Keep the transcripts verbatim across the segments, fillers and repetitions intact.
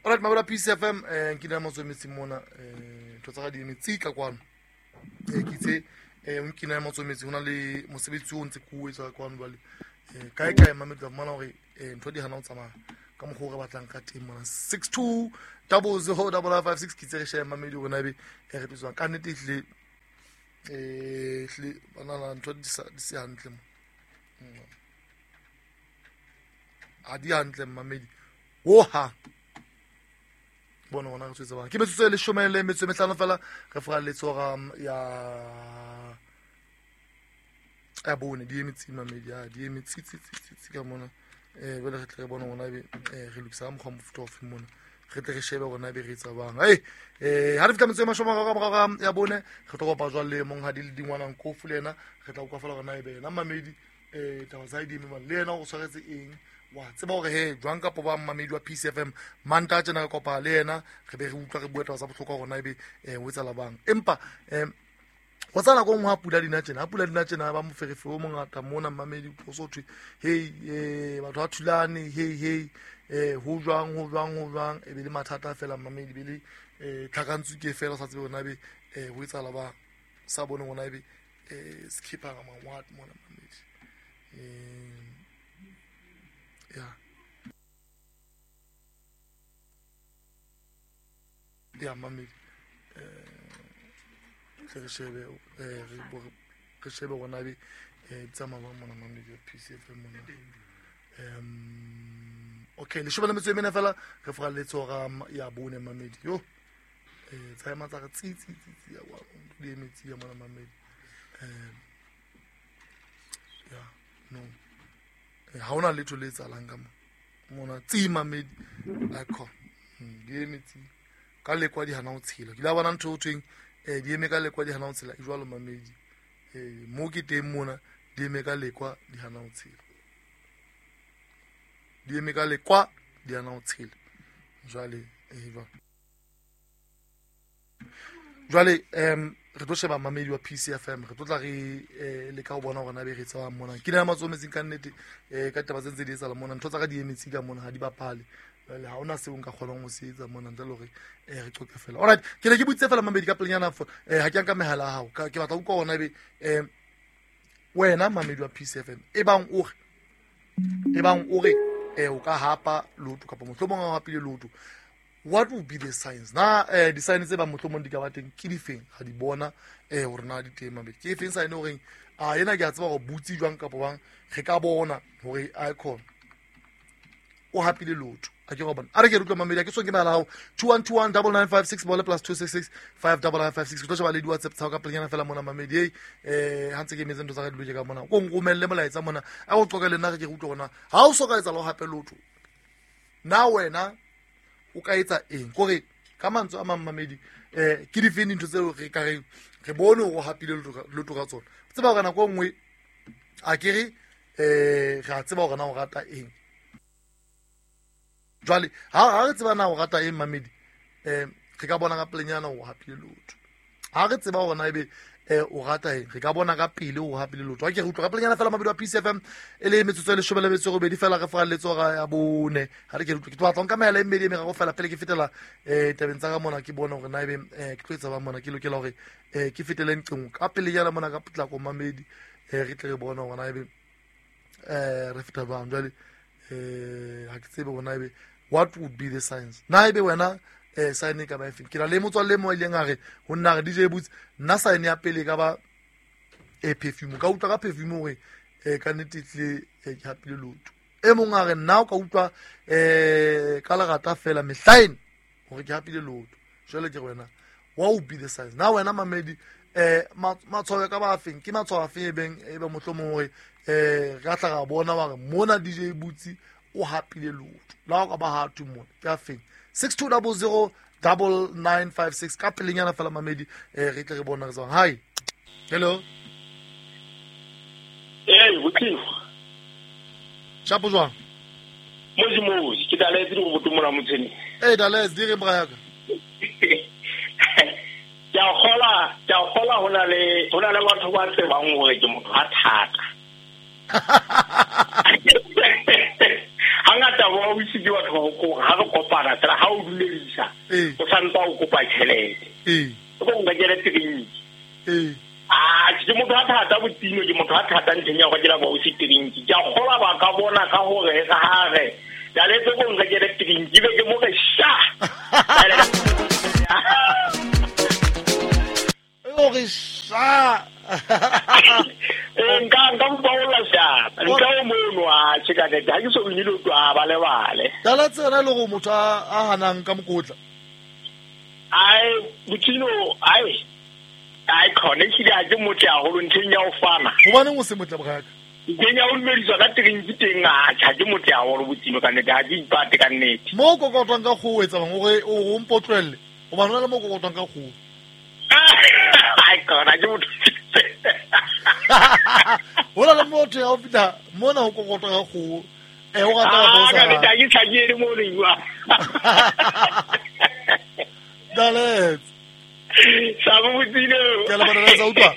Alright, mabura P C F M eh nkina motsometse mona eh ntho tsa ga di metsi ka kwano. Eh ke itse eh nkina motsometse hona le mosebetsi o ntse ke o etsa kwano bale. Eh kae kae mamedi mona hore eh ntho di hana ho tsamaya ka mokgwa o re batlang ka teng mona. six two double zero double five six ke itse re share mamedi rona be e re tswang ka nnete ehle eh ehle bana ntho di sa di se hantle mo. A di hantle mamedi. Oha bona ona re tswetse bang ke metsotso e leshome le metso e mehlano fela re fora letsoga ya ya bone di emetsi mamedi ya di emetsi tsi tsi tsi ka mona eh bele re tle re bona ona be re lokisa mokgwa mofuta ofe mona re tle re shebe hore na be re etsa bang hey eh ha re fitla metso e mashome a mararo ya bone re tlo kopa jwale le monghadi le dingwana Nkofu le yena re tla utlwa fela hore na ebe yena mamedi eh taba tsa di eme le yena o tshwaretse eng wa tseba hore he jwang kapo ba mamedi wa P C F M manta tjena re kopa le yena re be re utlwa re bua taba tsa bohlokwa hore na ebe eh o etsa la bang empa eh go tsana go ngwa pula dina tjena pula dina tjena ba moferefe o mongata mona mamedi o so thwe hey eh batho ba thulane hey hey eh ho jwang ho jwang ho jwang e be le mathata fela mamedi be le eh tlhakantsu ke fela sa tsebe hore na ebe eh ho etsa la bang sa bone hore na ebe eh skipper nga what mona mamedi eh ya ya mamedi eh re shebe eh re shebe rona be eh tsamaya ba mona mamedi P C F M mona um okay le shebe le metso e mene fela re fora letsoga ya bone mamedi yo eh tsamaya tsa re tsi tsi tsi ya wa di metsi ya mona mamedi eh ya no ha ona letho le etsahalang ka mona tsi mamedi akho di metsi ka lekwa di hana ho tshela ke la bona ntho o thweng eh di eme ka lekwa di hana ho tshela e jwalo mamedi eh mo ke teng mona di eme ka lekwa di hana ho tshela di eme ka lekwa di hana ho tshela jwale eh jwale jwale em re tlo sheba mamedi wa P C F M re tlo tla re le ka ho bona hore na be re tsa mona ke na matsometseng ka nnete eh ka taba tse ntse di etsahala mona ntho tsa ka di emetse ka mona ha di bapale le ha ona seo nka kgonang ho se etsa mona ntle le hore eh re qoqe fela. Alright, ke ne ke butse fela mamedi ka pelenyana fo eh ha ke nka mehala ya hao ke batla utlwa hona ebe eh wena mamedi wa P C F M e bang o re e bang o re eh o ka hapa lotho kapa mohlomong o hapile lotho, what will be the signs na eh di signs tse ba mohlomong di ka ba teng ke difeng ga di bona eh hore na di teng mamedi ke efeng sign hore a yena ke a tseba hore butsi jwang kapa bang re ka bona hore icon o hapile lotho a ke go bona a re ke re utlwa mamedi a ke so ke mala hao two one two one double nine five six bole plus two six six five double nine five six ke tlo sheba le di WhatsApp tsa ka pelenyana fela mona mamedi ei eh ha ntse ke metse ntho tsa ka di loke ka mona ko nromelle molaetsa mona a go qoka le nna re ke re utlwe hore na ha o so ka etsa lo hape lotho na wena o ka etsa eng kore ka mantswe a mang mamedi eh ke difeng dintho tseo re ka re re bone hore o hapile lotho ka tsona tseba hore nako e nngwe a ke re eh re a tseba hore na o rata eng jwale ha ha re tseba na o rata eng mamedi eh re ka bona ka pelenyana o hapile lotho ha re tseba hore na ebe eh o rata eng re ka bona ka pele o hapile lotho ha ke re utlwa ka pelenyana fela mamedi wa P C F M e le metsotso e leshome le metso e robedi fela re fora letsoga ya bone ha re ke re utlwa ke tlo batla nka mehala e mmedi e meraro fela pele ke fetela eh tabeng tsa ka mona ke bona hore na ebe eh ke tlo etsa ba mona ke lokela hore eh ke fetele nqeng ka pelenyana mona ka potlako mamedi eh re tle re bona hore na ebe eh re feta bang jwale eh ha ke tsebe hore na ebe what would be the signs na ebe wena eh sign e ka ba efeng ke na le motswalle mo ileng a re ho nna re D J Boots nna sign ya pele ka ba e perfume ka utlwa ka perfume hore eh ka nnete tle ke hapile lotho e mong a re nna o ka utlwa eh ka lerata fela mehlaen hore ke hapile lotho jwale ke re wena what would be the signs na wena mamedi eh matshwao ka ba afeng ke matshwao afeng e beng e be mohlomong hore eh re tla ra bona ba re mona D J Boots o hapile lotho la o ka ba ha thu mona ke afeng six two double zero double nine five six ka pelenyana fela mamedi eh re tle re bona re tswang hi hello eh botliwa shapo jwang mozi mozi ke daletse go botomola motshene eh daletse di re braka ke a gola ke a gola hona le hona le batho ba tsebang hore ke motho a thata. Hangata bo o itse ke batho ba ko ha re kopana fela ha o dumedisa o santse o kopa tjhelete. Eh. O go nka tjhelete trinki. Eh. Ah, ke motho a thata botino, ke motho a thata ntlheng ya go dira bo o se trinki. Ke a kgola ba ka bona ka hore ka hare. Dale tse go nka tjhelete trinki be ke mo re sha. O re sha. Nka nka mpaola sha. Nka o mono a tsheka ke ha ke so nnile o a ba lebale. Dala tsena le go motho a hanang ka mokotla. Ai botino ai ai khone ke di a ke motho ya holo ntlheng ya o fana. Hobaneng o se motle boraka? Ntlheng ya o dumediswa ka trinki teng a tjha ke motho ya holo botino ka nnete ha ke ipate ka nnete. Mo kokotwang ka kgoho etsa bang hore o mpotlwelle. Hobane hona le mo kokotwang ka kgoho. Ai khona ke motho. Hona le motho ya o fihla mona ho kokotwa ka kgoho. Eh o rata go sa. Ka nnete ha ke tshakele mo le bua. Dale. Sa botino. Ke le bona sa utlwa.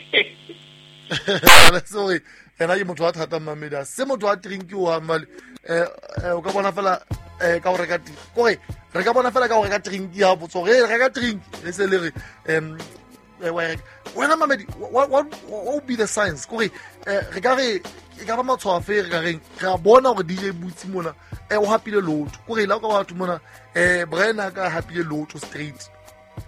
Dale sorry. Ena ke motho a thata mmamedi. Se motho a trinki o hamale. Eh o ka bona fela eh ka o reka kore re ka bona fela ka o reka trinki ha botso re reka trinki e se le re em wena mamedi what what what be the signs kore re ka re e ka ba matshwafe re ka reng re a bona hore D J Boots mona eh o hapile lotho kore la ka batho mona eh Brian a ka hapile lotho straight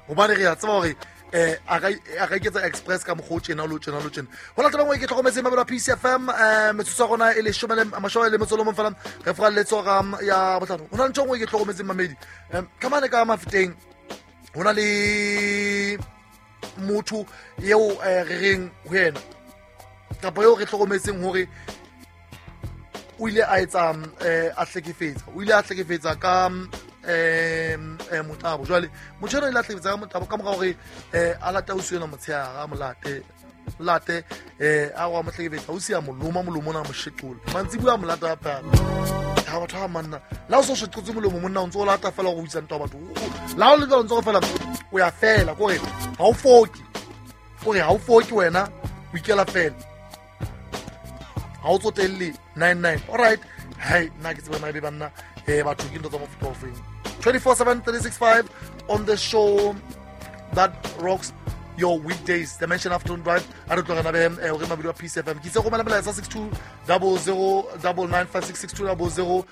hobane re a tseba hore eh a ka a ka iketsa express ka mokgwa o tjena lo tjena lo tjena ho latela ngwe ke tlhokometse mabelo a P C F M eh metsotso ya rona e leshome le mashome le metso le mong fela re furalletso ka ya botlhano ho na le ntho nngwe ke tlhokometse mamedi ka mane ka mafeteng ho na le motho eo re reng ho yena kapa eo re tlhokometseng hore o ile a etsa a hlekefetsa o ile a hlekefetsa ka eh motabo jwale motho eno ile a hlekefetsa ka motabo ka mora hore a lata ausi ena motshehare a molate late eh a wa mo hlekefetsa ausi a moloma molomo ona a mo sheqola mantsibuya a mo lata hape ha batho ha manna la o so sheqotse molomo monna o ntso o lata fela go buisa ntwa batho la o le ntso o fela o ya fela kore ha o foki kore ha o foki wena o ikela fela ha o tsotelle nine nine all right hey nna ke tseba na be banna eh batho ke ntho tsa mofuta ofeng twenty-four seven three sixty-five on the show that rocks your weekdays Dimension Afternoon Drive a re tlogana be eh o re mabidi wa P C F M ke itse go mela melaetsa six two zero zero nine nine five six six two zero zero